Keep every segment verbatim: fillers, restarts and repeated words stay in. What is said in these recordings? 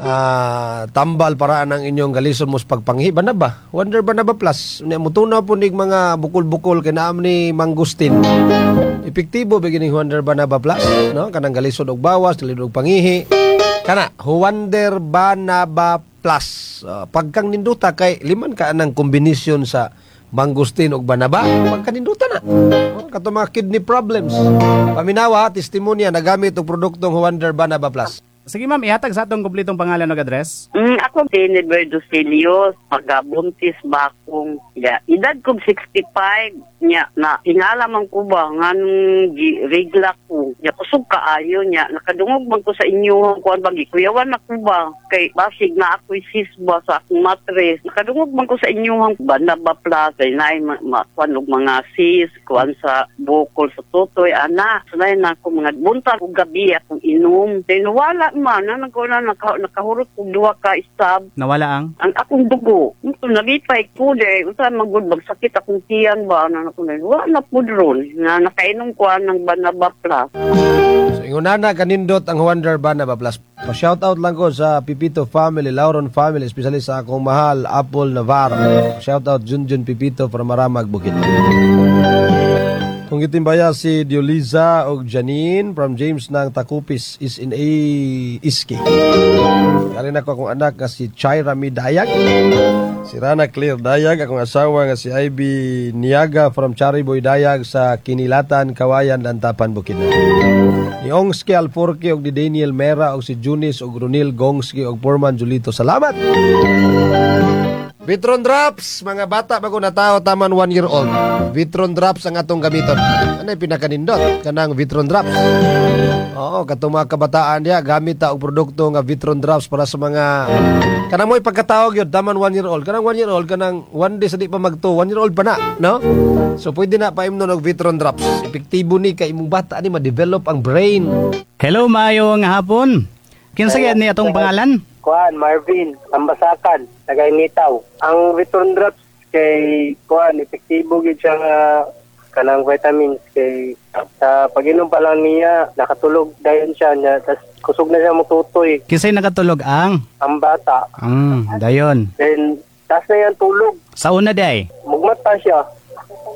Ah, tambal para ang inyong galison mo sa pagpanghi ba na ba? Wonder Banaba Plus. Nya mutunaw po nig mga bukol-bukol kay naam ni mangustin. Epektibo beginning Wonder Banaba Plus, no? Kanang galisod og bawas, galisod og pangihi. Kana Wonder Banaba Plus. Uh, pagkang ninduta kay liman ka anang kombinasyon sa mangustin og banaba, pagkaninduta na. Oh, kato mga kidney problems. Paminawa, testimonya nagamit og produktong Wonder Banaba Plus. Sige ma'am, ihatag sa atong kumpletong pangalan ug address. Mm, ako si Edwardo Celios, pagabuntis bakong ya, edad ko sixty-five nya na hingala man ko ba nganong gi regla ko. Nya kusog kaayo nya nakadungog man ko sa inyo kuan ba gikuyawan na ko ba kay basig na ako'y sis ba sa akong matres. Nakadungog man ko sa inyo Banaba Plus ay naay ma, ma, kuan og mga sis kuan sa bukol sa tutoy ana. Sunay na ako mga buntag ug gabi akong inom. Then wala man na nagko na naka, nakahurot og duha ka stab Nawala ang ang akong dugo. Ito, nalipay ko de. Unsa man gud magsakit akong tiyan ba na ako na wala na pud ron na nakainom ko ng Banaba Plus. So ingon na kanindot ang Wonder Banaba Plus. Pa shout out lang ko sa Pipito family, Lauron family, especially sa akong mahal Apple Navarro. Shout out Junjun Pipito from Maramag Bukid. Kung gitimbaya si Dioliza og Janine from James ng Takupis is in a Iski. Kali na ko akong anak nga si Chaira Mi Dayag. Si Rana Clear Dayag, akong asawa nga si Ivy Niaga from Chariboy Dayag sa Kinilatan, Kawayan, Lantapan, Bukidnon. Ni Ongski Alforque og ni Daniel Mera og si Junis og Ronil Gongski og Foreman Julito. Salamat! Vitron Drops, mga bata bago natao taman one year old. Vitron Drops ang atong gamiton. Ano yung pinakanindot? Kanang Vitron Drops. Oo, katong mga kabataan diya, gamit ta og produkto nga Vitron Drops para sa mga kanang mo'y pagkatawag yun, taman one year old. Kanang one year old, kanang one day sa di pa magto, one year old pa na, no? So pwede na paimnon og Vitron Drops. Epektibo ni kay imong bata ni ma-develop ang brain. Hello, maayo nga hapon. Kinsa gyud ni atong pangalan? Kuan, Marvin, Ambasakan, taga Initaw. Ang Vitron Drops kay kuan, epektibo gyud siya nga kanang vitamins kay sa pag-inom pa lang niya, nakatulog dayon siya niya, tas kusog na siya mututoy Kinsay nakatulog ang? Ang bata. Mm, dayon. Then tas na yan tulog, Sa una day. Mugmata siya,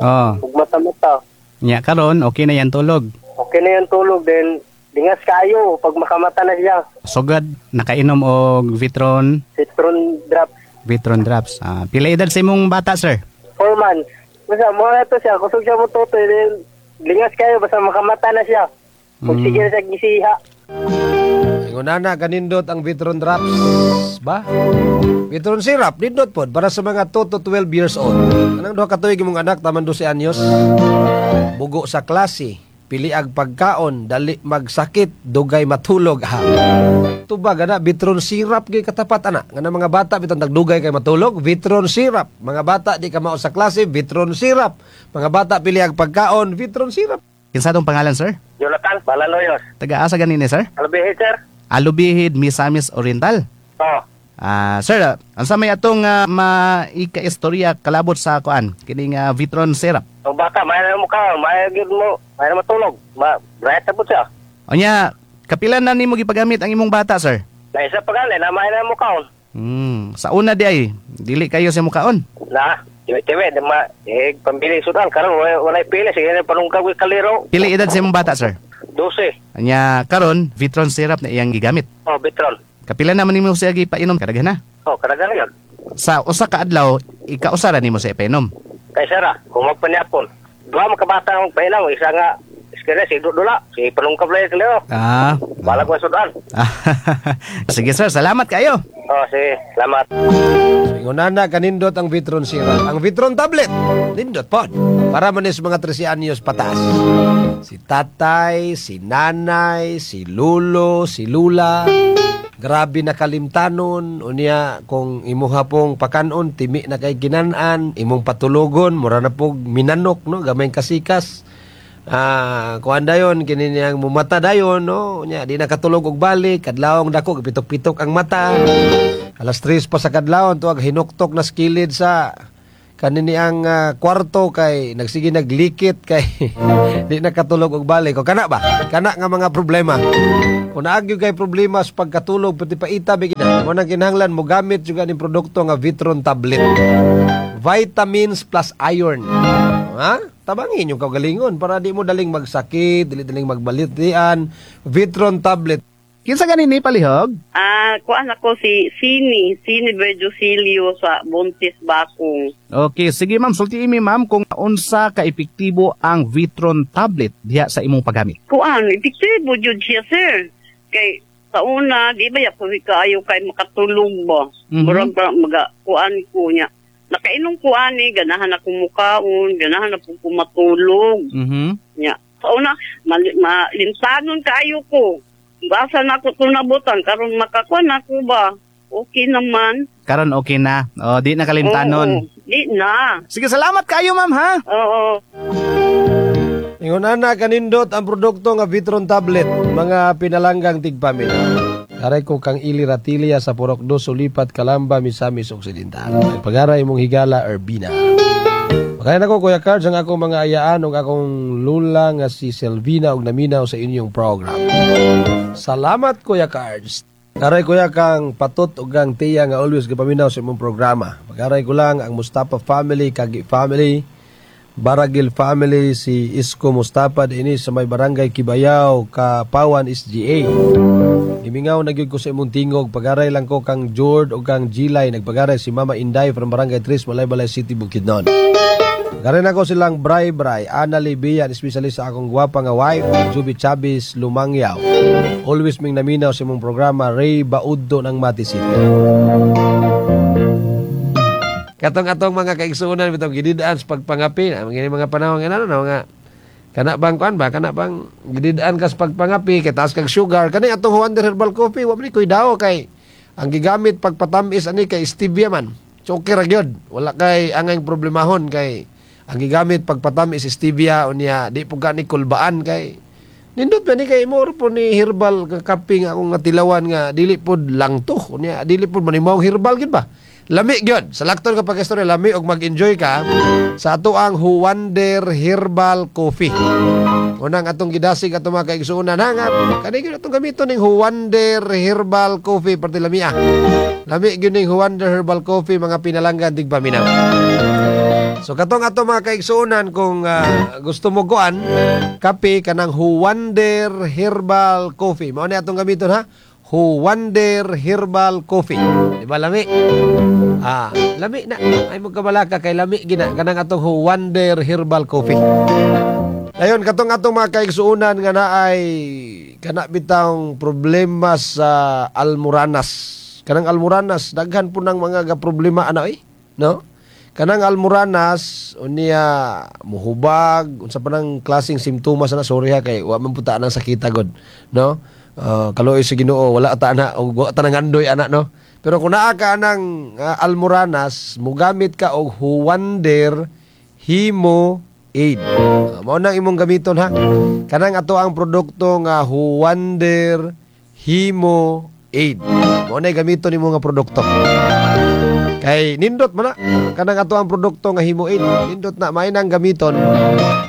Oh, mugmata-mata. Nya karon okay na yan tulog. Okay na yan tulog, then lingas kayo pag makamata na siya. Sugad nakainom og Vitron, Vitron Drops. Vitron Drops. Ah, pila edad sa imong bata, sir? Four months. Basta mo na to siya, kusog siya mututoy, then lingas kayo basta makamata na siya. Kung Mm. sige na siya gisiha. Ingon na kanindot ang Vitron Drops ba? Vitron syrup nindot pod para sa mga two to twelve years old. Anang duha ka tuig imong anak taman dose anyos. Bugo sa klase, pili ag pagkaon, dali magsakit, dugay matulog ha. Tubag ana Vitron syrup gyud katapat ana. Nga mga bata bitong tagdugay kay matulog, Vitron syrup. Mga bata di ka mao sa klase, Vitron syrup. Mga bata pili ag pagkaon, Vitron syrup. Kinsa atong pangalan, sir? Jonathan Balaloyos. Taga asa ganini, sir? Alubihid, sir? Alubihid, Misamis Oriental. Oh. Ah, sir, unsa may atong uh, maika-istorya kalabot sa kuan kining ah, Vitron syrup? Ang bata, may na mukha, may gyud mo, may na matulog. Ma, bright na po siya. Unya, kapila na nimo gipagamit ang imong bata, sir? Na isa pa gali, na may na mukha. Hmm, sa una di ay dili kayo sa mukaon. Na, tiwe tiwe, di ma, eh, pambili sudan, karon wala walay pili, sige na panungkag kaliro. Pila edad sa imong bata, sir? dose. Anya karon Vitron syrup na iyang gigamit. Oh, Vitron. Kapila naman nimo siya gipainom kadaghan na? Oh, kadaghan yun. Sa usa ka adlaw, ikausa ra nimo siya ipainom? Kay sara, kung magpanyapon. Duha mga kabata ang painaw, isa nga, iskere, si Dudula, si panungkag lang kaliro. Ah. Balag mo sudan. Sige sir, salamat kayo. Oh, sige, salamat. So, ingon na kanindot ang Vitron syrup. Ang Vitron tablet, nindot pod. Para man is mga trese anyos pataas. Si tatay, si nanay, si lulo, si lula. Grabe na kalimtanon. Unya, kung imuha pong pakanon, timi na kay ginan-an, imong patulogon, mura na pog minanok, no? Gamay kasikas. Ah, kuan dayon kini niyang mumata dayon, no? Unya di na katulog og balik, kadlawong dako pitok-pitok ang mata. Alas tres pa sa kadlawon tuag hinuktok na skilid sa kanini ang ah, kwarto kay nagsige naglikit kay di na katulog og balik. O kana ba? Kana nga mga problema. Kung naa gyud kay problema sa pagkatulog, pati paita bigyan. Mo nang kinahanglan mo gamit juga ning produkto nga Vitron tablet. Vitamins plus iron. Ha? Tabangin yung kaugalingon para di mo daling magsakit, dili daling magbalitian. Vitron tablet. Kinsa gani ni, palihog? Ah, kuan ako si Sini, Sini Berducilio sa Buntis Bakong. Okay, sige ma'am, sulti mi, ma'am, kung unsa ka epektibo ang Vitron tablet diha sa imong paggamit. Kuan, epektibo jud siya, sir. Kay sa una, di ba ya ko kaayo kay makatulog ba? Mhm. Murag ba maga kuan ko niya. Nakainom ko ani, ganahan ako mukaon, ganahan ako ko matulog. Mhm. Nya. Sa una, mali, malintanon kaayo ko. Basa na ako tunabutan karon makakuan ako ba? Okay naman. Karon okay na. O, di na kalimtanon. Oo, di na. Sige, salamat kayo, ma'am, ha. Oo. Ingon ana kanindot ang produkto nga Vitron tablet, mga pinalanggang tigpaminaw. Aray ko kang Ili Ratilia sa Purok Dos, Sulipat, Calamba, Misamis Occidental. Pagaray mong higala, Urbina. Makayan ako, Kuya Cards, ang akong mga ayaan ug akong lula nga si Selvina ug naminaw sa inyong program. Salamat, Kuya Cards. Aray kuya kang Patot ug kang Tiya nga always gapaminaw sa imong programa. Pagaray ko lang ang Mustafa family, Kagi family, Baragil family, si Isko Mustafa ini sa may barangay Kibayaw, Kapawan, S G A. Gimingaw na gyud ko sa imong tingog. Pagaray lang ko kang Jord o kang Gilay. Nagpagaray si Mama Inday from Barangay Tres, Malaybalay City, Bukidnon. Pagaray na ko silang Bray Bray, Ana Libian, especially sa akong gwapa nga wife, Juby Chavez Lumangyaw. Always ming naminaw sa imong programa, Ray Bauddo ng Mati City. Katong atong mga kaigsuonan bitong gididaan sa pagpangapi na mga mga panahon nga ano na mga kana bang kuan ba, kana bang gididaan ka sa pagpangapi kay taas kag sugar, kani atong Wonder Herbal Coffee wa man ni koy daw kay ang gigamit pagpatamis ani kay stevia man. So okay ra gyud, wala kay angay problemahon kay ang gigamit pagpatamis stevia. Unya di pud ka ni kulbaan kay nindot ba ni kay mo po ni herbal nga kape nga akong nga tilawan nga dili pod lang to. Unya dili pod manimaw, herbal gid ba, lami gyud sa lakton ka pag-istorya, lami og mag-enjoy ka sa ato ang Huwander Herbal Coffee. Unang atong gidasig atong mga kaigsuonan nga kani gyud atong gamiton ning Huwander Herbal Coffee, parte lami ah. Lami gyud ning Huwander Herbal Coffee, mga pinalanggan tigpaminaw. So katong ato mga kaigsuonan, kung ah, gusto mo kuan kape, kanang Huwander Herbal Coffee. Mao ni atong gamiton ha. Huwander Herbal Coffee. Di ba lami? Ah, lami na. Ay mo kabalaka kay lami gina kanang atong Huwander Herbal Coffee. Ayon katong atong mga kaigsuonan nga naay kana bitang problema sa almoranas. Kanang almoranas, daghan po ng mga ga problema ana eh, no? Kanang almoranas unya muhubag, unsa pa nang klaseng simptomas na, sorry ha kay wa man puta nang sakita god, no? Uh, kaluoy sa Ginoo, wala ta na og wa ta nangandoy ana, no? Pero kung naa ka anang uh, almoranas, mugamit ka og Huwander Himo Aid. Uh, mao nang imong gamiton ha. Kanang ato ang produkto nga Huwander Himo Aid. Mao na gamiton nimo nga produkto. Kay nindot man na kanang ato ang produkto nga Himo Aid. Nindot na, may nang gamiton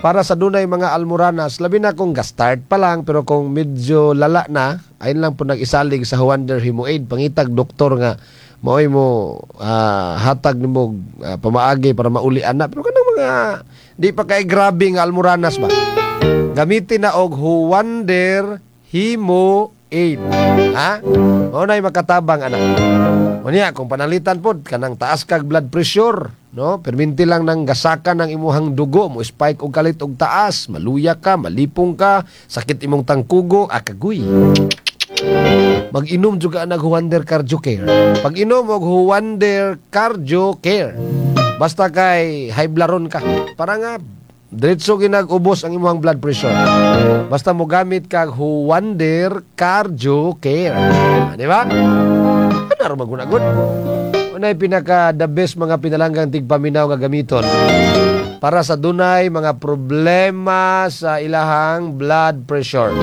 para sa dunay mga almoranas, labi na kung ga-start pa lang, pero kung medyo lala na, ayun lang po nag-isalig sa Huwander Himo Aid. Pangitag doktor nga maoy mo ah, hatag nimo uh, pamaagi para mauli ana. Pero kanang mga di pa kay grabe nga almoranas ba, gamitin na og Huwander Himo Aid. Ha? Mao na'y makatabang ana. Unya kung panalitan pod kanang taas kag blood pressure, no? Perminti lang nang gasakan ng imuhang dugo, mo spike og kalit og taas, maluya ka, malipong ka, sakit imong tangkugo, akagoy. Mag-inom juga nag Huwander Cardio Care. Pag-inom og Huwander Cardio Care. Basta kay high blood ka. Para nga diretso ginag-ubos ang imong blood pressure. Basta mo gamit kag Huwander Cardio Care. Ah, di ba? Ano ra magunagod? Unay pinaka the best, mga pinalanggang tigpaminaw, nga gamiton para sa dunay mga problema sa ilahang blood pressure.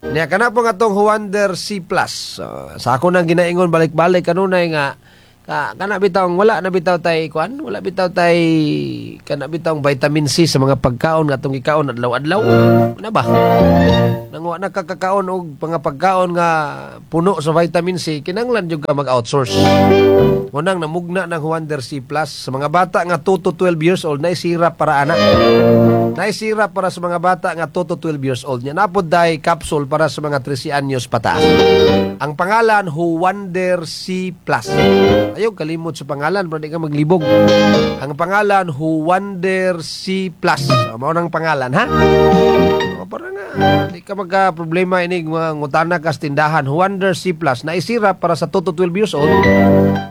Niya kana po nga tong Huwander C plus. Uh, sa ako nang ginaingon balik-balik kanunay nga Ka kana bitaw wala na bitaw tay kuan, wala bitaw tay kana bitaw vitamin C sa mga pagkaon nga atong gikaon adlaw-adlaw. Una ba? Nang wa na kakakaon og mga pagkaon nga puno sa vitamin C, kinahanglan jud ka mag-outsource. Munang namugna ng Juander C Plus sa mga bata nga two to twelve years old, na syrup para ana. Na syrup para sa mga bata nga two to twelve years old. Nya napod day capsule para sa mga thirteen anyos pataas. Ang pangalan Juander C Plus. Ayaw kalimot sa pangalan para di ka maglibog. Ang pangalan Juander C Plus. So, mao nang pangalan ha. O, para nga di ka magka problema inig mga ngutana ka sa tindahan. Juander C Plus na syrup para sa two to twelve years old.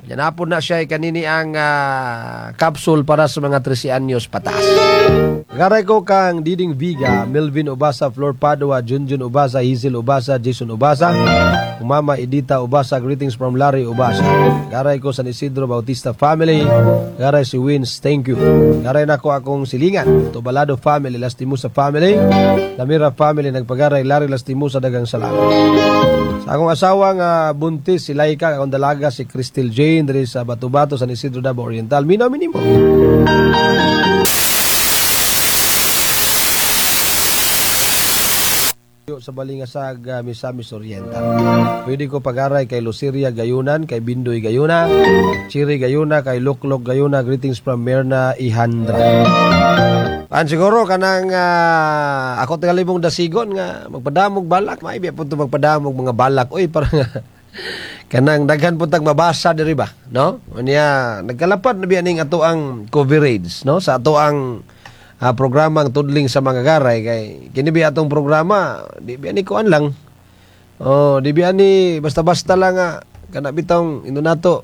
Yan napod na siya kanini ang uh, capsule para sa mga thirteen anyos pataas. Garay ko kang Diding Viga, Melvin Ubasa, Flor Padua, Junjun Ubasa, Hazel Ubasa, Jason Ubasa, Mama Edita Ubasa, greetings from Larry Ubasa. Garay ko San Isidro Bautista family, garay si Wins, thank you. Garay nako akong silingan, Tobalado family, Lastimosa family, Lamira family, nagpagaray Larry Lastimosa, dagang salamat. Sa akong asawa nga buntis si Laika, akong dalaga si Crystal Jane diri sa Batubato, San Isidro, Davao Oriental. Minaw minimo. Sa Balingasag, uh, Misamis Oriental. Pwede ko pagaray kay Luceria Gayunan, kay Bindoy Gayuna, Chiri Gayuna, kay Luklok Gayuna. Greetings from Mirna Ihandra. An siguro kanang uh, ako tagalibong dasigon nga magpadamog balak, maibi po ito magpadamog mga balak. Uy, parang kanang daghan po tag mabasa diri ba, no? Unya nagkalapad na biya ning ato ang coverage, no? Sa ato ang uh, programang tudling sa mga garay kay kini biya atong programa, di biya ni kuan lang. Oh, di biya ni basta-basta lang nga kana bitong inunato.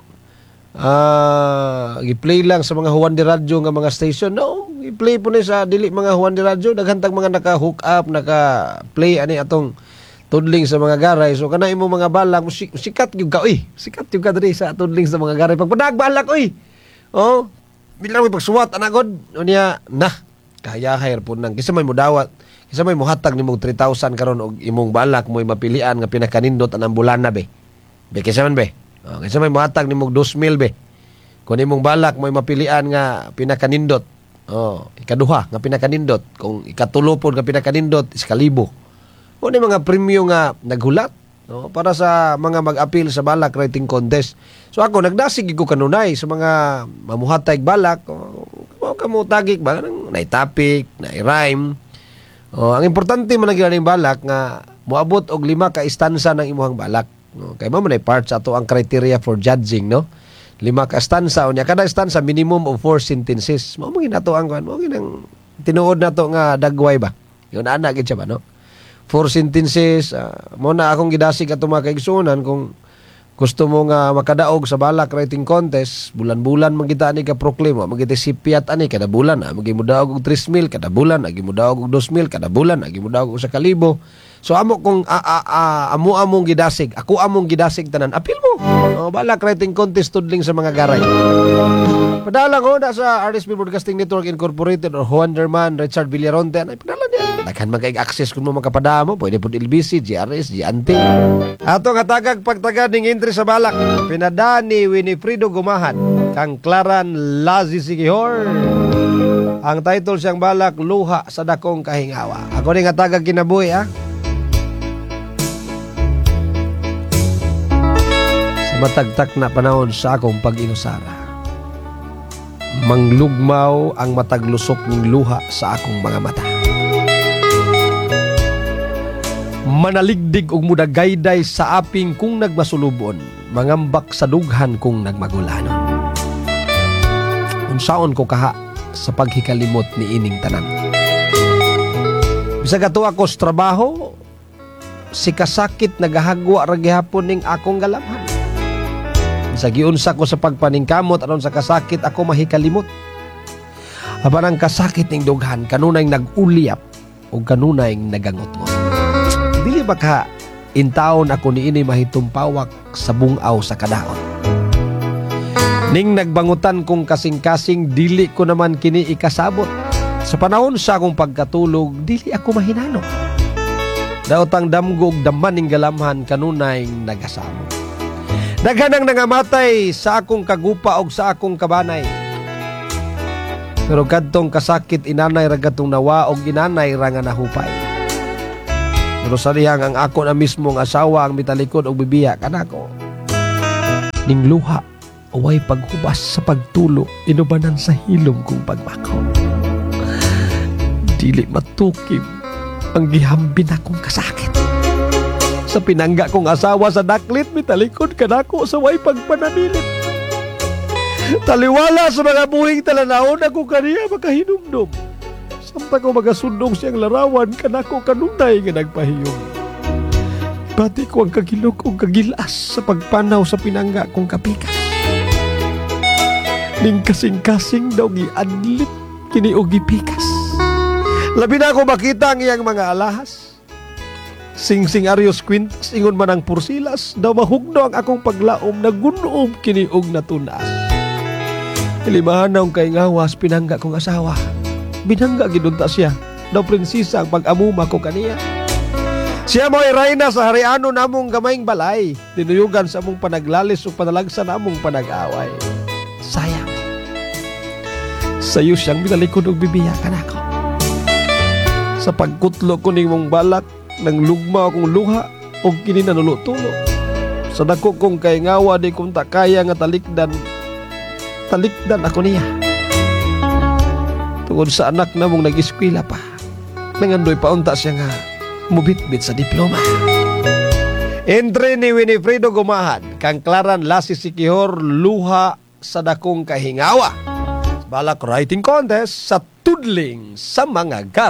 Ah, uh, gi-play lang sa mga Juan de Radyo nga mga station. No, i-play po ni sa dili mga Juan de Radyo, daghan tag mga naka-hook up, naka-play ani atong tudling sa mga garay. So kana imong mga balak, sikat gyud ka oy. Sikat gyud ka diri sa tudling sa mga garay. Pagpadag balak oy. Oh, bilang may pagsuwat ana god. Unya na kahayahay po nang kinsa may mudawat, kinsa may muhatag nimong three thousand karon og imong balak mo'y mapilian nga pinakanindot anang bulana be. Be kinsa man be? Oh, kinsa may muhatag nimong two thousand be. Kung imong balak mo'y mapilian nga pinakanindot. Oh, ikaduha nga pinakanindot, kung ikatulo pod nga pinakanindot is kalibo. O ni mga premyo nga naghulat, no, para sa mga mag-appeal sa balak writing contest. So ako nagdasig ko kanunay sa mga mamuhatay balak, oh, kamo tagik ba nang nay topic, nay rhyme. Oh, ang importante man ang ning balak nga moabot og lima ka istansa ng imuhang balak. No, kay mao man ay part sa ato ang criteria for judging, no. Lima ka stanza, unya kada stanza minimum of four sentences. Mao man ginato ang kuan, mao ginang tinuod nato nga dagway ba. Yun ana gid siya ba, no. Four sentences, uh, mo na akong gidasig ato mga kaigsuonan kung gusto mo nga makadaog sa balak writing contest, bulan-bulan man kita ani ka proclaim, mo kita sipiat ani kada bulan, ah, magi modaog og three mil kada bulan, agi modaog og two mil kada bulan, agi modaog og sa kalibo. So amo kung a, a, a, amo among gidasig, ako among gidasig tanan, apil mo. Oh, balak writing contest tudling sa mga garay. Padala ko na sa R S B Broadcasting Network Incorporated or Juanderman Richard Villaronte, ay padala niya. Daghan man kay access kung mo makapadamo, pwede pud L B C, G R S, G N T. Ato nga tagag pagtaga ning entry sa balak. Pinada ni Winifredo Gumahan kang Claran Lazi Sigihor. Ang title siyang balak, Luha sa Dakong Kahingawa. Ako ni nga tagag kinabuhi ha. Sa matagtak na panahon sa akong pag-inusara, manglugmaw ang mataglusok ning luha sa akong mga mata. Manaligdig og mudagayday sa aping kung nagmasulubon, mangambak sa dughan kung nagmagulanon. Unsaon ko kaha sa paghikalimot ni ining tanan. Bisag ato ako sa trabaho, si kasakit nagahagwa ra gihapon ning akong galamhan. Bisag giunsa ko sa pagpaningkamot aron sa kasakit ako mahikalimot. Apan ang kasakit ning dughan kanunay nag-ulyap o kanunay nagangotngot. Dili ba ka intaon ako niini mahitumpawak sa bungaw sa kadaon. Ning nagbangutan kong kasing-kasing dili ko naman kini ikasabot. Sa panahon sa akong pagkatulog dili ako mahinanok. Daot ang damgo og daman ning galamhan kanunay nagasamo. Daghan ang nangamatay sa akong kagupa og sa akong kabanay. Pero kadtong kasakit, inanay ra katong nawa og inanay ra nga nahupay. Pero sa dihang ang ako na mismo ang asawa ang mitalikod og bibiya kanako. Ning luha, way paghubas sa pagtulo, inubanan sa hilom kong pagmakaw. Dili matukim ang gihambin akong kasakit. Sa pinangga kong asawa sa daklit, mitalikod kanako sa way pagpanamilit. Taliwala sa mga buhing talanawon ako kaniya makahinumdum. Samtang ko magasundong siyang larawan kanako kanunay nga nagpahiyom. Bati ko ang kagilok og kagilas sa pagpanaw sa pinangga kong kapikas. Ning kasing-kasing daw giadlit kini og gipikas. Labi na ako makita ang iyang mga alahas. Sing-sing aryos kwintas, ingon man ang pursilas, daw mahugno ang akong paglaom na gunoom kini og natunas. Ilimahan na kay ngawas pinangga kong asawa. Binangga gidunta siya. Daw prinsesa ang pag-amuma ko kaniya. Siya mo'y rayna sa hariano namong gamayng balay. Tinuyugan sa among panaglalis o panalagsa namong panag-away. Sayang. Sayo siyang binalikod og bibiyakan ako. Sa pagkutlo ko ning mong balak, nang lugma akong luha og kini nanulo-tulo. Sa dako kong kaingawa, di kong kaya nga talikdan talikdan ako niya. Tungod sa anak namong nag-eskwela pa. Nangandoy paunta siya nga mubitbit sa diploma. Entry ni Winifredo Gumahan, kang Klaran Lasi Sikihor, "Luha sa Dakong Kahingawa." Balak writing contest sa Tudling sa mga gar.